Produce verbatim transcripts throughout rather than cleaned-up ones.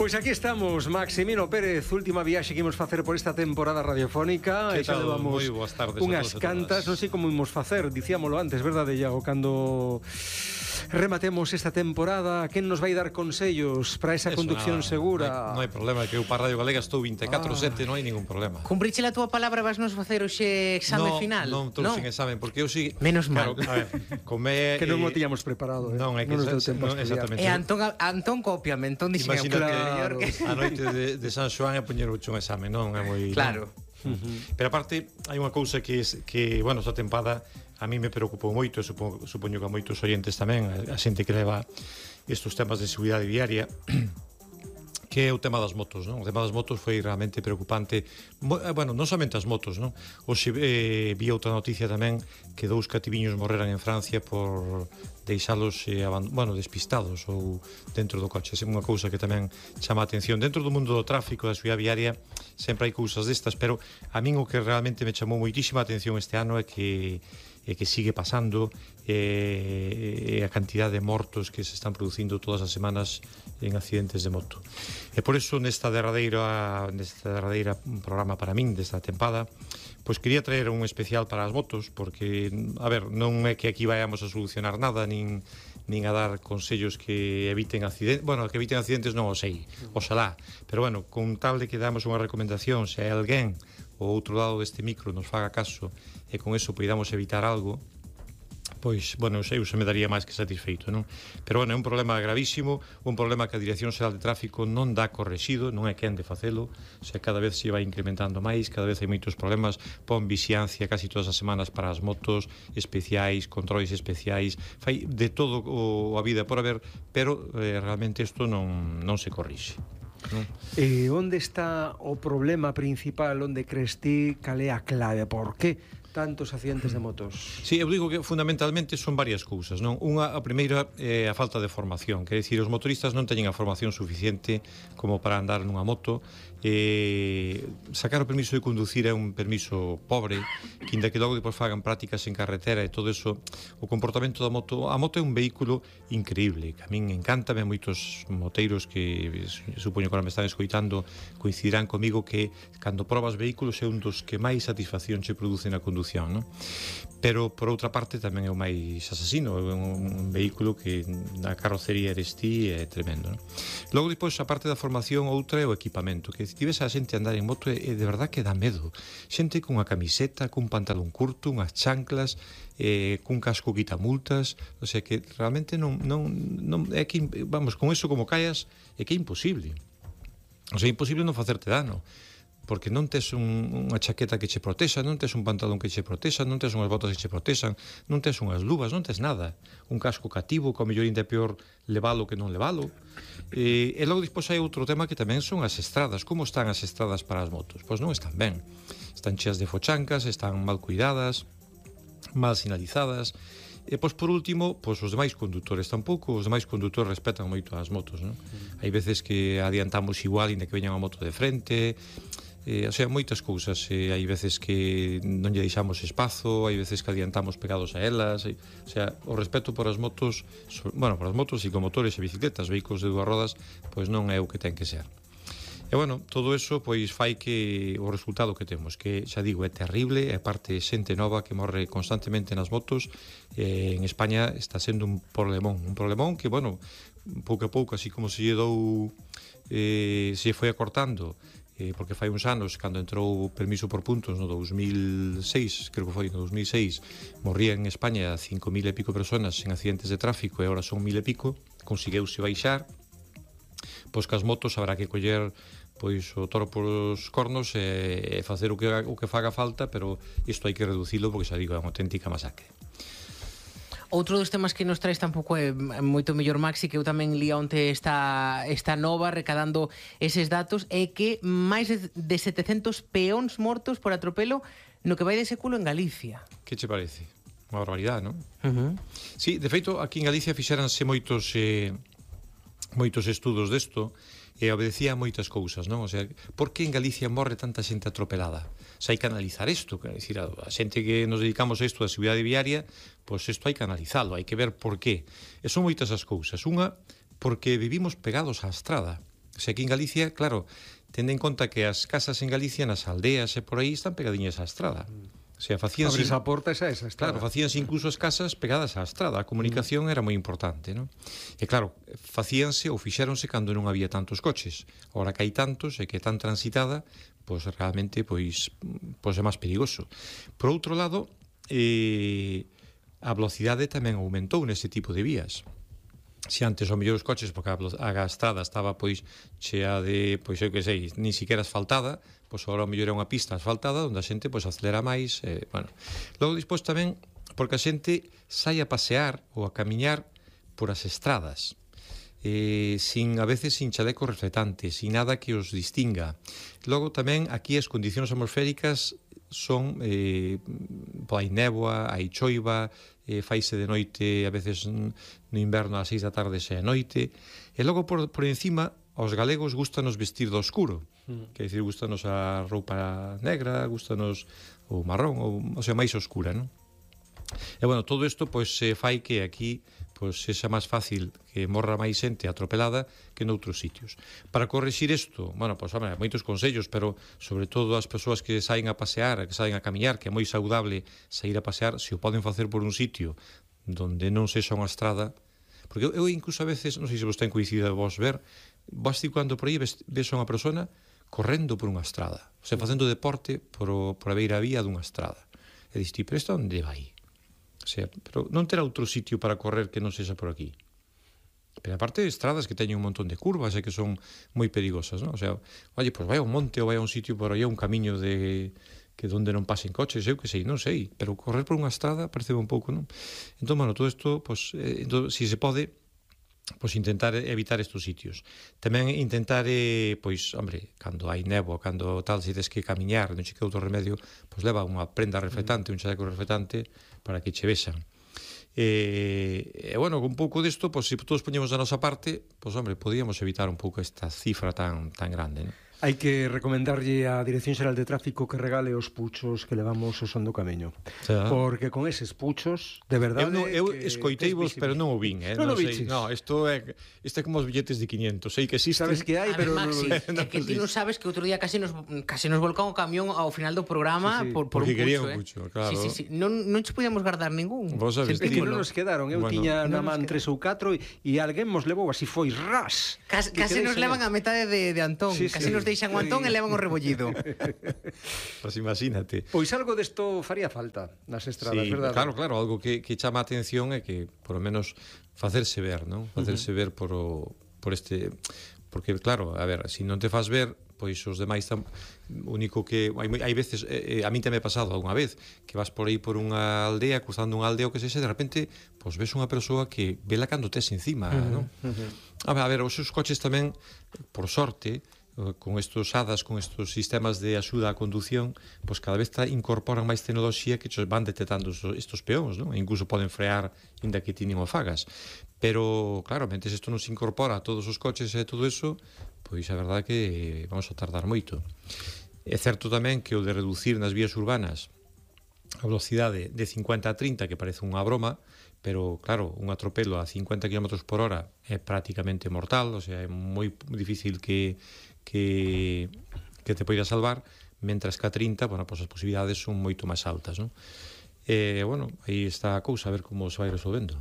Pois aquí estamos, Maximino Pérez, última viaxe que imos facer por esta temporada radiofónica. Que xa tal? levamos Moi boas tardes unhas a todos e cantas, todas. non sei como imos facer, dicíamolo antes, verdade, Iago, cando rematemos esta temporada, quen nos vai dar consellos para esa Eso, conducción nada, segura? Non hai, non hai problema, que eu para Radio Galega estou vinte e catro sete, ah. non hai ningún problema. Cumpriche a túa palabra, vas nos facer hoxe exame no, final? Non, non trouxen examen, porque eu si... Menos mal. Claro, a ver, come... Que non eh, o tiñamos preparado, eh? Non, é que... non nos deu se- tempo a non, estudiar. exactamente. E Antón, Antón cópiame, Antón dixen eu. Imagínate, Claro. a noite de, de San Xoán é poñer un exame, non é moi... Claro. Non. Uh-huh. Pero aparte, hai unha cousa que, es, que bueno, esta tempada a mí me preocupou moito, e supoño, supoño que a moitos oyentes tamén, a, a xente que leva estes temas de seguridade viaria, que é o tema das motos, non? O tema das motos foi realmente preocupante. Mo, eh, bueno, non somente as motos, non? Hoxe eh, vi outra noticia tamén que dous cativiños morreran en Francia por deixalos eh, aban, bueno, despistados ou dentro do coche. É unha cousa que tamén chama a atención. Dentro do mundo do tráfico, da seguridade viaria, sempre hai cousas destas, pero a min o que realmente me chamou moitísima atención este ano é que e que sigue pasando e, e a cantidade de mortos que se están producindo todas as semanas en accidentes de moto. E por eso nesta derradeira nesta derradeira programa para min desta tempada, pois quería traer un especial para as motos, porque a ver, non é que aquí vayamos a solucionar nada nin nin a dar consellos que eviten accidentes, bueno, que eviten accidentes non o sei, oxalá, pero bueno, con tal de que damos unha recomendación, se hai alguén o outro lado deste micro nos faga caso e con eso podamos evitar algo, pois, bueno, eu sei, eu se me daría máis que satisfeito, non? Pero, bueno, é un problema gravísimo, un problema que a Dirección Xeral de Tráfico non dá correxido, non é quen de facelo, o sea, cada vez se vai incrementando máis, cada vez hai moitos problemas, pon vixiancia casi todas as semanas para as motos especiais, controles especiais, fai de todo o a vida por haber, pero eh, realmente isto non, non se corrixe. Non? E onde está o problema principal, onde crees ti, cal é a clave, por que tantos accidentes de motos? Sí, eu digo que fundamentalmente son varias cousas, non? Unha, a primeira é a falta de formación, quer dicir, os motoristas non teñen a formación suficiente como para andar nunha moto, e sacar o permiso de conducir é un permiso pobre, que inda que logo depois fagan prácticas en carretera e todo eso, o comportamento da moto, a moto é un vehículo increíble, que a min encántame, moitos moteiros que supoño que ahora me están escoitando coincidirán comigo que cando probas vehículos é un dos que máis satisfacción se produce na condución, non? Pero por outra parte tamén é o máis asasino, é un, un vehículo que na carrocería eres ti, é tremendo, non? Logo depois a parte da formación, outra é o equipamento, que se ves a xente andar en moto e de verdad que dá medo, xente cunha camiseta, cun pantalón curto, unhas chanclas, eh, cun casco quitamultas, o sea que realmente non, non, non é que, vamos, con eso como callas é que é imposible, o sea, é imposible non facerte dano, porque non tes un, unha chaqueta que che protexa, non tes un pantalón que che protexa, non tes unhas botas que che protexan, non tes unhas luvas, non tes nada. Un casco cativo, que ao mellor ainda é peor levalo que non levalo. E, e logo despois hai outro tema que tamén son as estradas. Como están as estradas para as motos? Pois non están ben. Están cheas de fochancas, están mal cuidadas, mal sinalizadas. E, pois, por último, pois, os demais condutores tampouco, os demais condutores respetan moito as motos, non? Mm. Hai veces que adiantamos igual, inda que veñan a moto de frente, eh, o sea, moitas cousas, eh, hai veces que non lle deixamos espazo, hai veces que adiantamos pegados a elas, eh, o sea, o respeto por as motos, so, bueno, por as motos, ciclomotores e bicicletas, vehículos de dúas rodas, pois non é o que ten que ser. E, bueno, todo eso, pois, fai que o resultado que temos, que, xa digo, é terrible, é parte xente nova que morre constantemente nas motos, e en España está sendo un problemón, un problemón que, bueno, pouco a pouco, así como se lle dou, eh, se foi acortando, eh, porque fai uns anos, cando entrou o permiso por puntos no dous mil seis, creo que foi no dous mil seis, morría en España cinco mil e pico personas en accidentes de tráfico e agora son mil e pico, consegueuse baixar, pois que as motos habrá que coller pois o toro polos cornos e, e facer o que, o que faga falta, pero isto hai que reducilo porque xa digo, é unha auténtica masacre. Outro dos temas que nos traes tampouco é moito mellor, Maxi, que eu tamén li onte esta, esta nova recadando eses datos, é que máis de setecentos peóns mortos por atropelo no que vai de século en Galicia. Que che parece? Unha barbaridade, non? Uh-huh. Sí, de feito, aquí en Galicia fixeranse moitos eh, moitos estudos desto e obedecía moitas cousas, non? O sea, por que en Galicia morre tanta xente atropelada? Se hai que analizar isto, quer decir, a, a xente que nos dedicamos a isto da seguridade viaria, pois isto hai que analizalo, hai que ver por qué. E son moitas as cousas. Unha, porque vivimos pegados á estrada. O sea, aquí en Galicia, claro, tende en conta que as casas en Galicia, nas aldeas e por aí, están pegadiñas á estrada. O sea, facíanse... Abres a porta esa, esa estrada. Claro, facíanse incluso as casas pegadas á estrada. A comunicación era moi importante, non? E claro, facíanse ou fixéronse cando non había tantos coches. Ahora que hai tantos e que é tan transitada, pois realmente pois, pois é máis perigoso. Por outro lado, eh, a velocidade tamén aumentou neste tipo de vías. Se antes o mellor os coches, porque a, a estrada estaba pois chea de, pois eu que sei, ni siquiera asfaltada, pois agora o mellor é unha pista asfaltada onde a xente pois acelera máis, eh, bueno. Logo despois tamén porque a xente sai a pasear ou a camiñar por as estradas. Eh, sin a veces sin chaleco reflectante, sin nada que os distinga. Logo tamén aquí as condicións atmosféricas son eh, hai néboa, hai choiva, eh, faise de noite, a veces no inverno ás seis da tarde xa é noite, e logo por, por encima aos galegos gustanos vestir do oscuro, mm. que é dicir, gustanos a roupa negra, gustanos o marrón, ou, o sea, máis oscura, non? E bueno, todo isto pois se fai que aquí pois sexa máis fácil que morra máis xente atropelada que noutros sitios. Para corrixir isto, bueno, pois, hombre, moitos consellos, pero sobre todo as persoas que saen a pasear, que saen a camiñar, que é moi saudable sair a pasear, se o poden facer por un sitio donde non sexa unha estrada, porque eu, eu incluso a veces, non sei se vos ten coincidido a vos ver, vas ti cando por aí ves, ves a unha persona correndo por unha estrada, o sea, facendo deporte por, o, por a beira vía dunha estrada. E dis ti, pero isto onde vai? O sea, pero non terá outro sitio para correr que non sexa por aquí. Pero aparte de estradas que teñen un montón de curvas e que son moi perigosas, non? O sea, oye, pois vai a un monte ou vai a un sitio por aí, a un camiño de que donde non pasen coches, eu que sei, non sei, pero correr por unha estrada parece un pouco, non? Entón, bueno, todo isto, pois, eh, entón, si se pode, pois intentar evitar estes sitios. Tamén intentar, eh, pois, hombre, cando hai néboa, cando tal, se tes que camiñar, non che queda outro remedio, pois leva unha prenda reflectante, un chaleco reflectante, para que che vexan. E, e bueno, con un pouco disto, pois, se todos poñemos a nosa parte, pois, hombre, podíamos evitar un pouco esta cifra tan, tan grande, non? Hai que recomendarlle á Dirección Xeral de Tráfico que regale os puchos que levamos o son do camiño. Xa. Porque con eses puchos, de verdade... Eu, no, eu que, escoiteivos, pero non o vin, eh? Non, non o sei, viches. no, isto é, isto é como os billetes de quinientos, sei que existe. Sabes que hai, pero... Además, non, sí, non, é que ti non sabes que outro día casi nos casi nos volcamos o camión ao final do programa Sí, sí. por, por Porque un quería pucho, un eh. pucho, claro. Sí, sí, sí. Non, non che podíamos guardar ningún. Vos sabes, É que tío. non nos quedaron, eu Bueno. tiña na Non nos man tres ou catro e, e alguén mos levou así foi ras. Cas, Que casi quedei nos sen levan el. a metade de, de Antón. Sí, Casi sí. nos deixan o Antón Sí. e levan o rebollido. Pois imagínate. Pois algo desto faría falta nas estradas, Sí, verdade? claro, claro, algo que, que chama a atención é que, por lo menos, facerse ver, non? Facerse uh -huh. ver por, o, por este... Porque, claro, a ver, se si non te faz ver, pois os demais tam... único que... Hai, hai veces, eh, a mí te me ha pasado alguna vez, que vas por aí por unha aldea, cruzando unha aldea o que sexa, de repente, pois ves unha persoa que vela cando tes encima, uh -huh. non? Uh -huh. A ver, a ver, os seus coches tamén, por sorte, con estos hadas, con estos sistemas de axuda á condución, pois cada vez incorporan máis tecnoloxía que van detectando estos peóns, non? E incluso poden frear inda que ti nin o fagas. Pero, claro, mentes isto non se incorpora a todos os coches e todo eso, pois a verdade que vamos a tardar moito. É certo tamén que o de reducir nas vías urbanas a velocidade de cincuenta a trinta, que parece unha broma, pero, claro, un atropelo a cincuenta kilómetros por hora é prácticamente mortal, o sea, é moi difícil que que, que te poida salvar, mentras que a trinta, bueno, pues as posibilidades son moito máis altas, non? E, bueno, aí está a cousa, a ver como se vai resolvendo.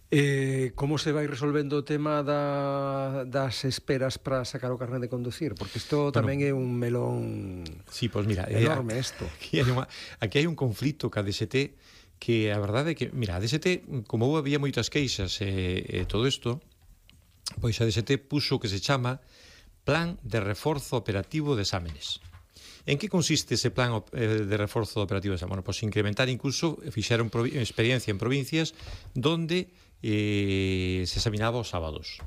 Eh, como se vai resolvendo o tema da, das esperas para sacar o carnet de conducir? Porque isto bueno, tamén é un melón sí, pues mira, enorme, eh, isto. Aquí hai, unha, aquí hai un conflito ca D S T que a verdade é que, mira, a D S T, como había moitas queixas e, e todo isto, pois a D S T puxo que se chama Plan de Reforzo Operativo de Exámenes. En que consiste ese plan de reforzo operativo de exámenes? Bueno, pois incrementar incluso, fixeron experiencia en provincias donde eh, se examinaba os sábados.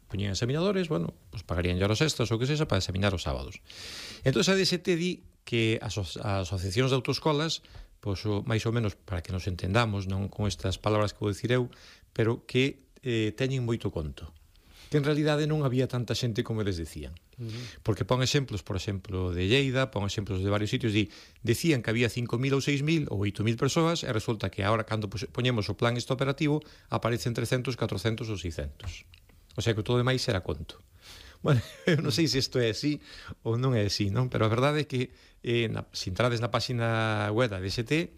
Poñían examinadores, bueno, pues pagarían ya horas extras ou que sexa para examinar os sábados. Entón a D S T di que as, as asociacións de autoescolas, pois o, máis ou menos para que nos entendamos, non con estas palabras que vou dicir eu, pero que eh, teñen moito conto, que en realidade non había tanta xente como eles decían. Uh -huh. Porque pon exemplos, por exemplo, de Lleida, pon exemplos de varios sitios, di, decían que había cinco mil ou seis mil ou oito mil persoas, e resulta que agora, cando poñemos o plan este operativo, aparecen trescentos, catrocentos ou seiscentos. O sea que todo demais era conto. Bueno, eu non sei se isto é así ou non é así, non? Pero a verdade é que eh, na, se entrades na página web da D S T,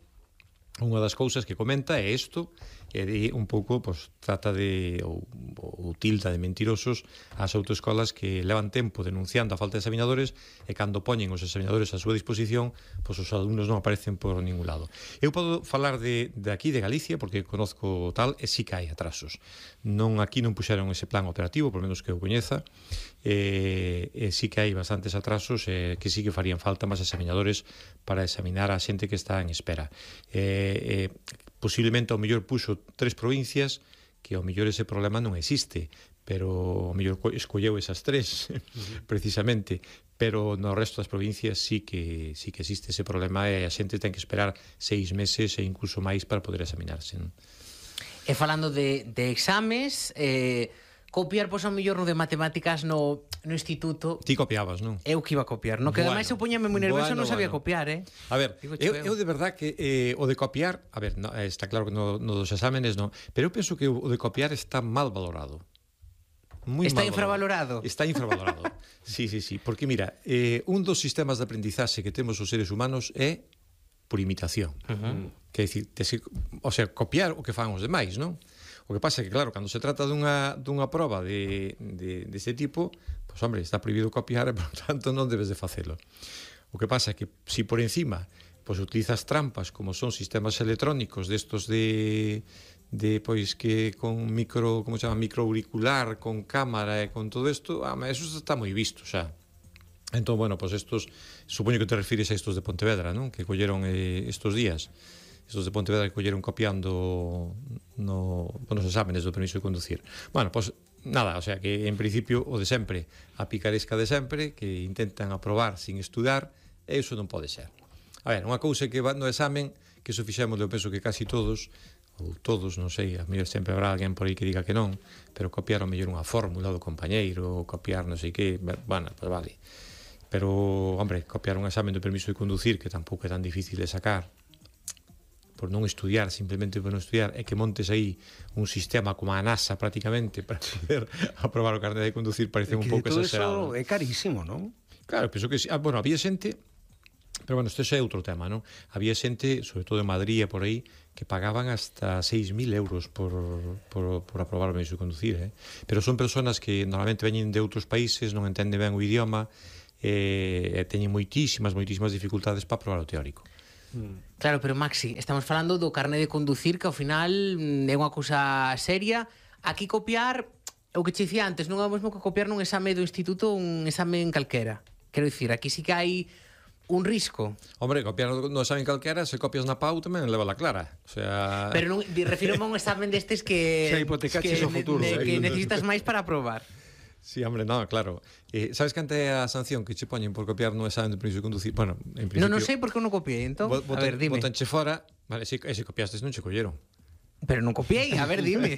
unha das cousas que comenta é isto, e de un pouco pues, trata de ou, ou tilda de mentirosos ás autoescolas que levan tempo denunciando a falta de examinadores e cando poñen os examinadores á súa disposición, pues, os alumnos non aparecen por ningún lado. Eu podo falar de, de aquí, de Galicia, porque conozco tal, e sí que hai atrasos. Non, aquí non puxeron ese plan operativo, por menos que eu coñeza, e, e sí que hai bastantes atrasos, e que sí que farían falta máis examinadores para examinar a xente que está en espera. E, e posiblemente ao mellor puxo tres provincias que ao mellor ese problema non existe, pero ao mellor escolleu esas tres uh-huh. precisamente, pero no resto das provincias sí que sí que existe ese problema e a xente ten que esperar seis meses e incluso máis para poder examinarse, non? E falando de, de exames, eh, copiar, pois, ao mellor no de matemáticas no, no instituto... Ti copiabas, non? Eu que iba a copiar, no? Que bueno, ademais eu poñame moi nervioso, bueno, non sabía bueno. copiar, eh? A ver, eu, eu de verdad que eh, o de copiar, a ver, no, está claro que no, no dos exámenes non, pero eu penso que o de copiar está mal valorado. Muy está mal infravalorado. Valorado. Está infravalorado. Sí, sí, sí, porque mira, eh, un dos sistemas de aprendizaxe que temos os seres humanos é por imitación. Uh-huh. Que decir, te, o sea, copiar o que fan os demais, non? O que pasa é que, claro, cando se trata dunha, dunha proba de, de, de este tipo, pois, hombre, está prohibido copiar e, por tanto, non debes de facelo. O que pasa é que, si por encima, pois, utilizas trampas, como son sistemas electrónicos destos de, de pois, que con micro, como se chama, microauricular, con cámara e con todo isto, ah, eso está moi visto, xa. Entón, bueno, pois, estos, supoño que te refires a estos de Pontevedra, non? Que colleron eh, estos días. Estos de Pontevedra que colleron copiando no, nos exámenes do permiso de conducir. Bueno, pois nada, o sea que en principio o de sempre, a picaresca de sempre, que intentan aprobar sin estudar, e iso non pode ser. A ver, unha cousa que va no examen, que iso fixemos, eu penso que casi todos, ou todos, non sei, a mellor sempre habrá alguén por aí que diga que non, pero copiar o mellor unha fórmula do compañeiro, ou copiar non sei que, bueno, pues vale. Pero, hombre, copiar un examen do permiso de conducir, que tampouco é tan difícil de sacar, por non estudiar, simplemente por non estudiar, é que montes aí un sistema como a NASA prácticamente para poder aprobar o carné de conducir, parece un pouco exagerado. Todo eso é carísimo, non? Claro, penso que sí. Ah, bueno, había xente, pero bueno, isto é outro tema, non? Había xente, sobre todo en Madrid e por aí, que pagaban hasta seis mil euros por, por, por aprobar o permiso de conducir, eh? Pero son personas que normalmente veñen de outros países, non entenden ben o idioma, e, e teñen moitísimas, moitísimas dificultades para aprobar o teórico. Claro, pero Maxi, estamos falando do carné de conducir, que ao final é unha cousa seria. Aquí copiar, o que che dicía antes, non é o mesmo que copiar nun exame do instituto, un exame en calquera. Quero dicir, aquí sí que hai un risco. Hombre, copiar no exame calquera, se copias na P A U tamén leva la clara. O sea... Pero non, refiro a un examen destes que, que hipotecaches que, o futuro, ne, eh. que necesitas máis para aprobar. Sí, hombre, no, claro. Eh, sabes que ante a sanción que che poñen por copiar no examen de permiso de conducir? Bueno, en principio... Non, non sei por que non copiei, entón. Botan, a ver, dime. Botanche fora, vale, se, se copiastes non che colleron. Pero non copiei, a ver, dime.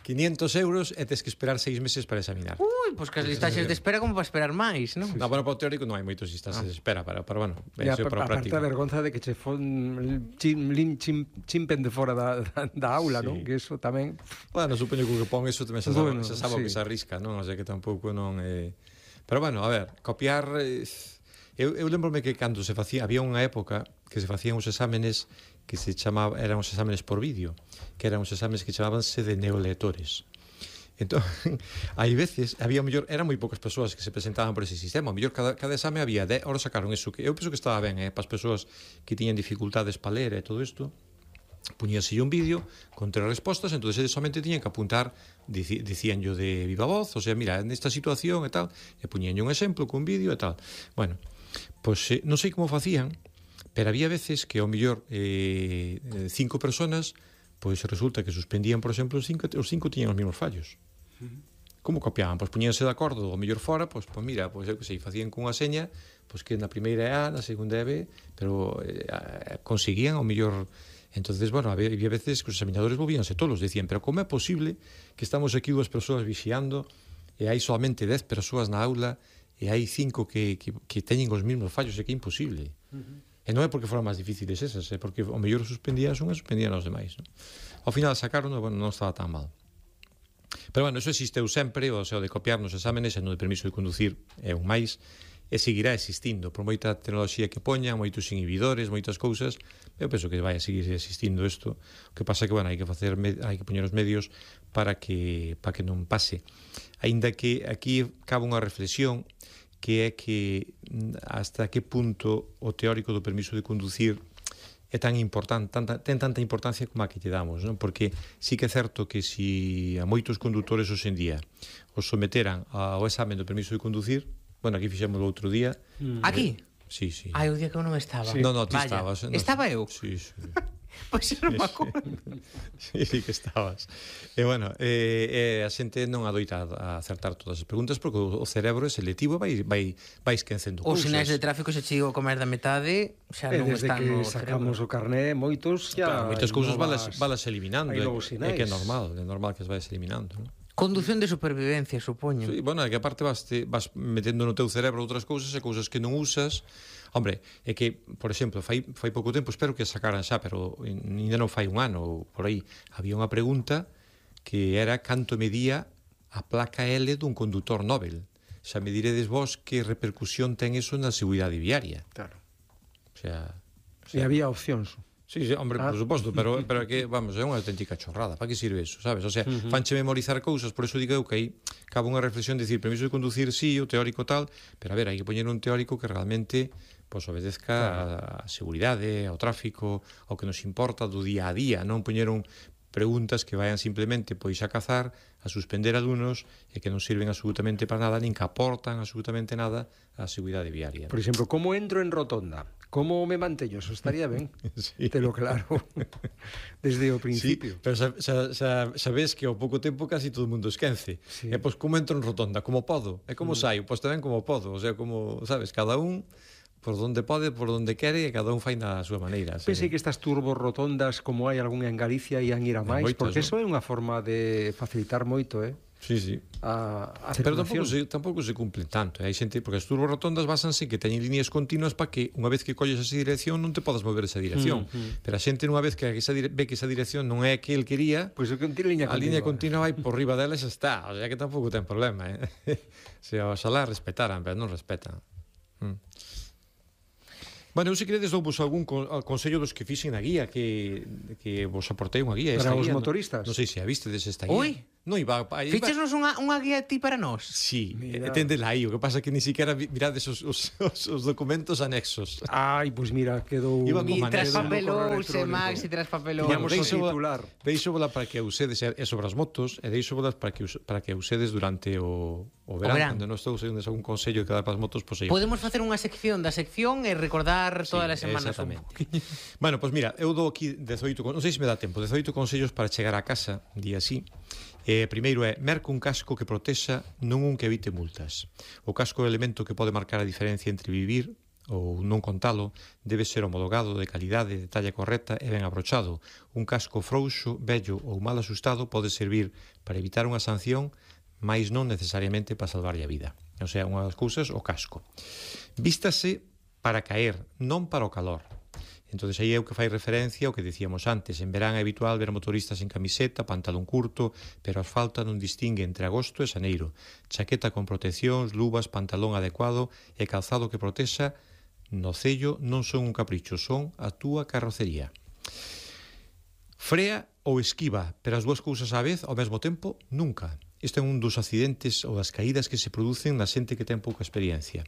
quinientos euros e tes que esperar seis meses para examinar. Ui, pois que as listaxes de espera como para esperar máis, non? No, bueno, para o teórico non hai moitos listaxes de espera, pero, pero bueno, Ya, eso é para o práctico. Aparte a vergonza de que che fon chim, lim, chim, chimpen de fora da, da, da aula, sí. non? Que eso tamén... Bueno, supoño que o que pon eso tamén se sabe, Bueno, se sabe sí. o que se arrisca, non? O sea que tampouco non... Eh... Pero bueno, a ver, copiar... Eh... Eu, eu lembrome que cando se facía, había unha época que se facían os exámenes que se chamaba, eran os exámenes por vídeo, que eran os exámenes que chamábanse de neolectores. Entón, hai veces, había mellor, eran moi poucas persoas que se presentaban por ese sistema, mellor cada, cada exame había dez, ahora sacaron eso, que eu penso que estaba ben, eh, para as persoas que tiñan dificultades para ler e todo isto, puñase un vídeo con tres respostas, entonces eles somente tiñan que apuntar, dici, dicíanllo de viva voz, o sea, mira, nesta situación e tal, e puñanlle un exemplo con vídeo e tal. Bueno, pois eh, non sei como facían, pero había veces que ao mellor eh, cinco personas, pois resulta que suspendían, por exemplo, os cinco, os cinco tiñan os mesmos fallos. Como copiaban? Pois puñíanse de acordo ao mellor fora, pois, pois mira, pois eu que sei, facían cunha seña, pois que na primeira é A, na segunda é B, pero eh, conseguían ao mellor. Entonces, bueno, había, había veces que os examinadores volvíanse tolos, decían, pero como é posible que estamos aquí dúas persoas vixiando e hai solamente dez persoas na aula e hai cinco que, que, que teñen os mesmos fallos, é que é imposible. Uh-huh. E non é porque foran máis difíciles esas, é porque ao mellor suspendían as unhas e suspendían os demais, non? Ao final sacaron, bueno, non estaba tan mal. Pero, bueno, eso existeu sempre, o sea, o de copiar nos exámenes e no de permiso de conducir é un máis, e seguirá existindo, por moita tecnoloxía que poñan, moitos inhibidores, moitas cousas, eu penso que vai a seguir existindo isto. O que pasa que, bueno, hai que facer, hai que poñer os medios para que para que non pase. Aínda que aquí cabe unha reflexión que é que hasta que punto o teórico do permiso de conducir é tan importante, tanta, ten tanta importancia como a que lle damos, non? Porque sí que é certo que si a moitos condutores hoxe en día os someteran ao examen do permiso de conducir. Bueno, aquí fixemos o outro día. Mm. Aquí? Sí, sí. Ai, o día que eu non estaba. Sí. No, no, ti Vaya. estabas. No. Estaba eu? Sí, sí. Pois pues non me acordo. Sí, sí que estabas. E, bueno, eh, eh, a xente non adoita a acertar todas as preguntas porque o cerebro é selectivo e vai, vai, vai esquecendo Os cousas. sinais de tráfico se chigo a comer da metade, xa non desde están que no sacamos cerebro. o carné, moitos ya... Claro, moitas cousas valas, novas... valas eliminando. hai É, novos é sinais. que é normal, é normal que as vais eliminando, non? Conducción de supervivencia, supoño. Sí, bueno, é que aparte vas, te, vas metendo no teu cerebro outras cousas e cousas que non usas. Hombre, é que, por exemplo, fai, fai pouco tempo, espero que sacaran xa, pero ainda non fai un ano ou por aí, había unha pregunta que era canto medía a placa L dun condutor Nobel. Xa me diredes vos que repercusión ten eso na seguridade viaria. Claro. O sea... O E sea había opcións. Sí, sí, hombre, Ah. por suposto, pero, pero que, vamos, é unha auténtica chorrada. Para que sirve eso, sabes? O sea, uh-huh. fanche memorizar cousas, por eso digo eu que aí cabe unha reflexión de dicir, permiso de conducir, sí, o teórico tal, pero a ver, hai que poñer un teórico que realmente pues, obedezca a seguridade, ao tráfico, ao que nos importa do día a día, non poñer un preguntas que vayan simplemente pois a cazar, a suspender alumnos e que non sirven absolutamente para nada, nin que aportan absolutamente nada á seguridade viaria. Por exemplo, como entro en rotonda? Como me manteño? Eso estaría ben. Sí. Te lo claro. Desde o principio. Sí, pero xa, xa, xa, sabes que ao pouco tempo casi todo o mundo esquece. Sí. E pois como entro en rotonda? Como podo? E como mm. saio? Pois tamén como podo. O sea, como, sabes, cada un por donde pode, por donde quere, e cada un fai na súa maneira. Pensei que estas turbos rotondas, como hai algunha en Galicia, ian ir a máis, moitas, porque non? eso é unha forma de facilitar moito, eh? Sí, sí. A, a Pero tampouco circulación. se, tampouco se cumplen tanto. Eh? Hai xente, porque as turborotondas basanse que teñen líneas continuas para que unha vez que colles esa dirección non te podas mover esa dirección. Mm, mm. Pero a xente unha vez que esa dire... ve que esa dirección non é a que el quería, Pois pues, que liña a liña continua vai por riba dela e xa está. O sea que tampouco ten problema. Eh? Se oxalá respetaran, pero non respetan. Mm. Bueno, eu se queredes dou vos algún con, consello dos que fixen na guía que, que vos aportei unha guía. Para esta os guía, motoristas? Non, non sei se a vistedes esta guía. Ui. Non iba, iba... Fichesnos unha, unha guía ti para nós? Sí, Mira. e tendela aí. O que pasa é que ni siquiera mirades os, os, os, os documentos anexos. Ai, pois pues mira, quedou... Iba E con tras maneira. papelouse, Max, e tras papelouse. Tiñamos o Deixo- titular. Deixo vola para que usedes e sobre as motos e deixo volas para que us- para que usedes durante o, o verán, verán. cando non estou usando algún consello que dar para as motos, pois aí. Podemos facer unha sección da sección e recordar Sí, todas as semanas un exactamente. poquinho. Bueno, pois mira, eu dou aquí dezoito, con- non sei se me dá tempo, dezoito consellos para chegar a casa, día así. Eh, primeiro é, merca un casco que protexa, non un que evite multas. O casco é o elemento que pode marcar a diferencia entre vivir ou non contalo, debe ser homologado, de calidade, de talla correcta e ben abrochado. Un casco frouxo, vello ou mal asustado pode servir para evitar unha sanción, mais non necesariamente para salvarlle a vida. O sea, unha das cousas, o casco. Vístase para caer, non para o calor. Entón, aí é o que fai referencia ao que dicíamos antes. En verán é habitual ver motoristas en camiseta, pantalón curto, pero a asfalto non distingue entre agosto e xaneiro. Chaqueta con proteccións, luvas, pantalón adecuado e calzado que protexa no cello non son un capricho, son a túa carrocería. Frea ou esquiva, pero as dúas cousas á vez, ao mesmo tempo, nunca. Isto é un dos accidentes ou das caídas que se producen na xente que ten pouca experiencia.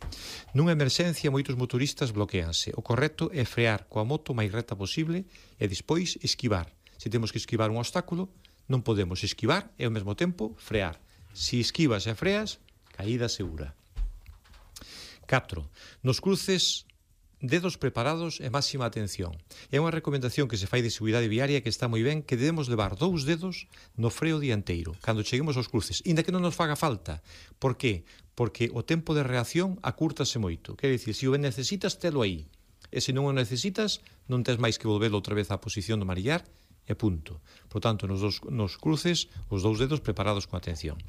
Nunha emerxencia, moitos motoristas bloqueanse. O correcto é frear coa moto o máis recta posible e despois esquivar. Se temos que esquivar un obstáculo, non podemos esquivar e ao mesmo tempo frear. Se esquivas e freas, caída segura. catro. Nos cruces, dedos preparados e máxima atención. É unha recomendación que se fai de seguridade viaria que está moi ben que debemos levar dous dedos no freo dianteiro cando cheguemos aos cruces, inda que non nos faga falta. Por qué? Porque o tempo de reacción acúrtase moito. Quer dicir, se o necesitas, telo aí. E se non o necesitas, non tes máis que volvelo outra vez á posición do marillar e punto. Por tanto, nos, dos, nos cruces, os dous dedos preparados con atención.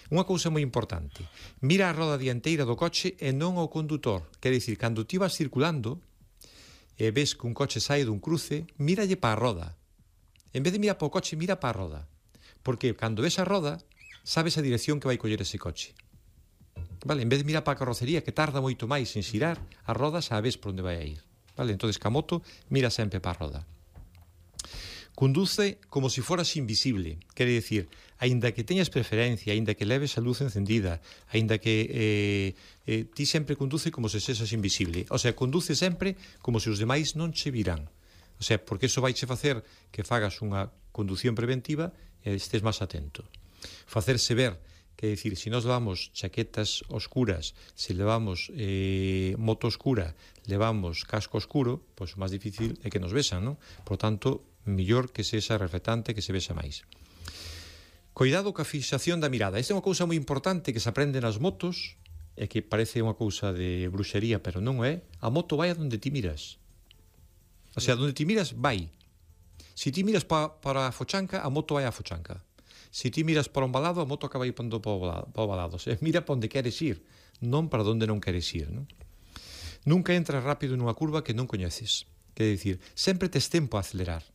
Unha cousa moi importante, mira a roda dianteira do coche e non ao condutor. Quer dicir, cando ti vas circulando e ves que un coche sae dun cruce, míralle para a roda. En vez de mirar para o coche, mira para a roda. Porque cando ves a roda, sabes a dirección que vai coller ese coche. Vale, en vez de mirar para a carrocería, que tarda moito máis en xirar, a roda sabes por onde vai a ir. Vale, entonces, ca moto, mira sempre para a roda. Conduce como se foras invisible, quere dicir, aínda que teñas preferencia, aínda que leves a luz encendida, aínda que eh, eh, ti sempre conduce como se sesas invisible. O sea, conduce sempre como se os demais non che virán. O sea, porque iso vai che facer que fagas unha conducción preventiva e estés máis atento. Facerse ver, que é dicir, se nós levamos chaquetas oscuras, se levamos eh, moto oscura, levamos casco oscuro, pois o máis difícil é que nos besan, non? Por tanto, mellor que sexa reflectante, que se vexa máis. Cuidado coa fixación da mirada. Esta é unha cousa moi importante que se aprende nas motos e que parece unha cousa de bruxería, pero non é. A moto vai a donde ti miras. O sea, donde ti miras, vai. Se ti miras pa, para a fochanca, a moto vai a fochanca. Se ti miras para un balado, a moto acaba indo para o balado. O sea, mira para onde queres ir, non para onde non queres ir, non? Nunca entras rápido nunha curva que non coñeces. Quer dicir, sempre tes tempo a acelerar.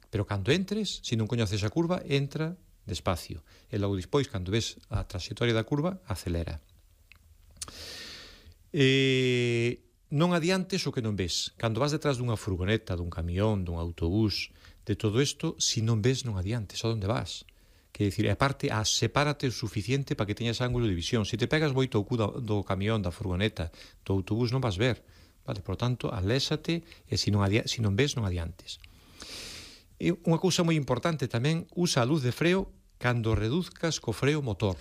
Pero cando entres, se non coñeces a curva, entra despacio. E logo despois, cando ves a trayectoria da curva, acelera. E non adiantes o que non ves. Cando vas detrás dunha furgoneta, dun camión, dun autobús, de todo isto, se non ves, non adiantes. A onde vas? Que dicir, aparte, a sepárate o suficiente para que teñas ángulo de visión. Se te pegas moito o cu do, do camión, da furgoneta, do autobús, non vas ver. Vale, por tanto, alésate e se non, adia- se non ves, non adiantes. E unha cousa moi importante tamén, usa a luz de freo cando reduzcas co freo motor.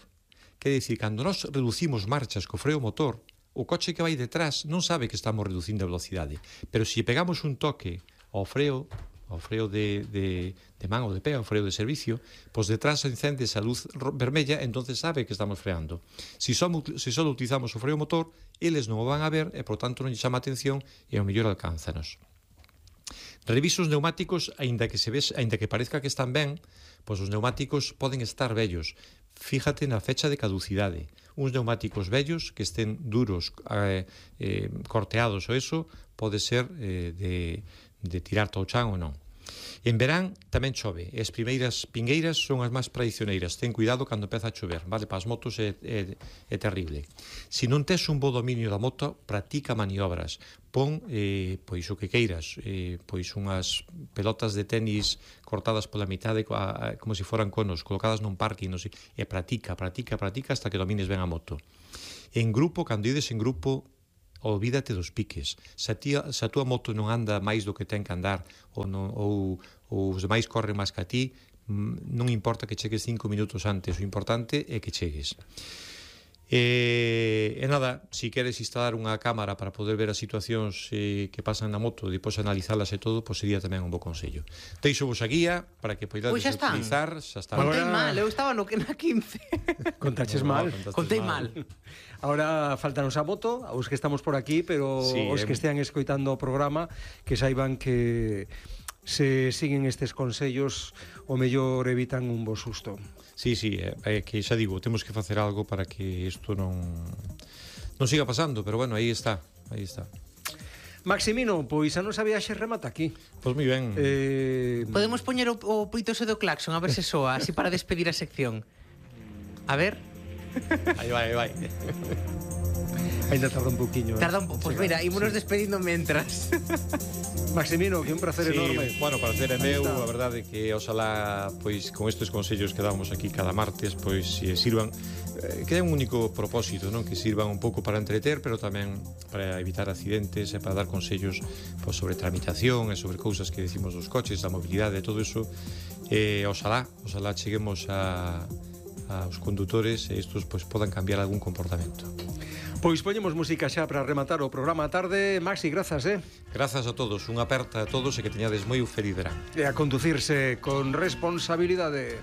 Quer dicir, cando nós reducimos marchas co freo motor, o coche que vai detrás non sabe que estamos reducindo a velocidade, pero se pegamos un toque ao freo, ao freo de, de, de man ou de pé, ao freo de servicio, pois detrás encende esa luz vermella, entonces sabe que estamos freando. Se só, se só utilizamos o freo motor, eles non o van a ver e, por tanto, non lle chama a atención e ao mellor alcánzanos. Revisa os neumáticos, aínda que se ves, aínda que parezca que están ben, pois os neumáticos poden estar vellos. Fíjate na fecha de caducidade. Uns neumáticos vellos que estén duros, eh, eh, corteados ou eso, pode ser eh, de, de tirar ao chan ou non. En verán tamén chove, e as primeiras pingueiras son as máis tradicioneiras. Ten cuidado cando empeza a chover, vale? Para as motos é, é, é terrible. Se non tes un bo dominio da moto, practica maniobras. Pon, eh, pois o que queiras, eh, pois unhas pelotas de tenis cortadas pola mitade, a, a, como se foran conos, colocadas nun parque, non sei, e practica, practica, practica hasta que domines ben a moto. En grupo, cando ides en grupo, olvídate dos piques. Se a, tía, se a túa moto non anda máis do que ten que andar ou, non, ou, ou os demais corren máis que a ti, non importa que chegues cinco minutos antes, o importante é que chegues. E, e nada, se si queres instalar unha cámara para poder ver as situacións eh, que pasan na moto e depois analizalas e todo, pois sería tamén un bo consello. Deixo vos a guía para que poidades Pois xa están. utilizar. Xa está. Contei Ahora- mal, eu estaba no que na quince. Contaches No, mal. contaste Contei mal. Ahora faltanos a moto, aos que estamos por aquí, pero Sí, os eh. que estean escoitando o programa, que saiban que se siguen estes consellos, o mellor evitan un bo susto. Sí, sí, é, é que xa digo, temos que facer algo para que isto non non siga pasando, pero bueno, aí está, aí está. Maximino, pois a nosa viaxe remata aquí. Pois moi ben. Eh, Podemos poñer o, o poitose do claxon, a ver se soa, así para despedir a sección. A ver, Aí vai, aí vai. ainda tarda un pouquiño. tarda un pouco. Pois mira, ímonos despedindo mentras. Maximino, que un placer Sí, enorme. bueno, para ser é Aí meu, está. a verdade que oxalá pois con estes consellos que damos aquí cada martes, pois eh, sirvan eh, que é un único propósito, non? Que sirvan un pouco para entreter, pero tamén para evitar accidentes e para dar consellos pois, sobre tramitación e sobre cousas que decimos dos coches, da mobilidade e todo eso. Eh, oxalá, oxalá cheguemos a aos condutores e estos pois podan cambiar algún comportamento. Pois poñemos música xa para rematar o programa a tarde. Maxi, grazas, eh? Grazas a todos, unha aperta a todos e que teñades moi feliz verán. E a conducirse con responsabilidade.